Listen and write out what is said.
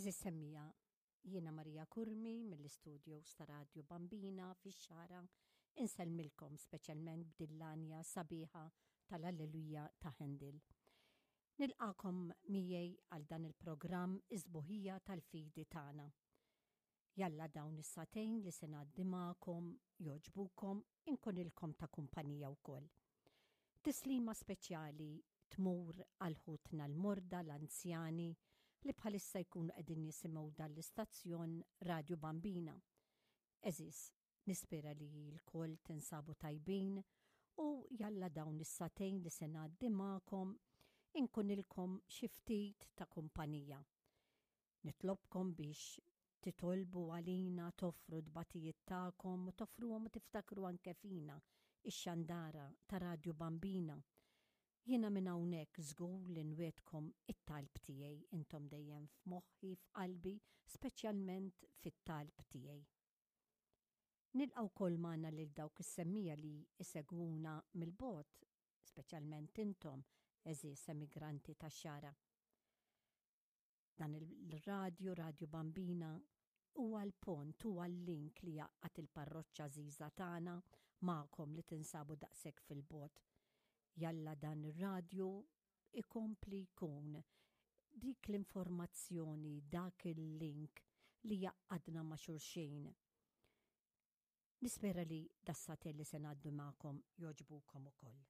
Għeżież semmiegħa, jiena Maria Curmi mill-istudios ta' Radju Bambina fix-Xagħra insellmilkom speċjalment b'din l-għanja sabiħa tal-Alleluja ta' Handel. Nilqagħkom miegħi għal dan il-programm Is-Sbuħija tal-Fidi Tagħna. Jalla dawn is-sagħtejn li se ngħaddi magħkom jogħġbukom inkunilkom ta' kumpanija wkoll. Tislima speċjali tmur għal ħutna l-morda, l-anzjani li bħalissa jkunu qegħdin jisimgħu dan l-istazzjon Radju Bambina. Għeżież, nispera li lkoll tinsabu tajbin u jalla dawn is-sagħtejn li se ngħaddi magħkom inkunilkom xi ftit ta' kumpanija. Nitlobkom biex titolbu għalina, toffru t-tbatijiet tagħkom u toffruhom u tiftakru anke fina, ix-xandara ta' Radju Bambina. Jiena minn hawnhekk żgur li nwiegħdkom it-talb tiegħi, intom dejjem f'moħħi, f'qalbi, speċjalment fit-talb tiegħi. Nilqa' wkoll magħna lil dawk is-semmiegħa li jsegwuna mill-bogħod, speċjalment intom, għeżież emigranti tax-Xagħra. Dan il-radju, Radju Bambina, huwa l-pont, huwa l-link li jgħaqqad il-parroċċa għażiża tagħna magħkom li tinsabu daqshekk fil-bogħod. Jalla dan ir-radju ikompli jkun dik l-informazzjoni, dak il-link li jgħaqqadna ma' xulxin. Nispera li das-sagħtejn li se ngħaddu magħkom jogħġbukom ukoll.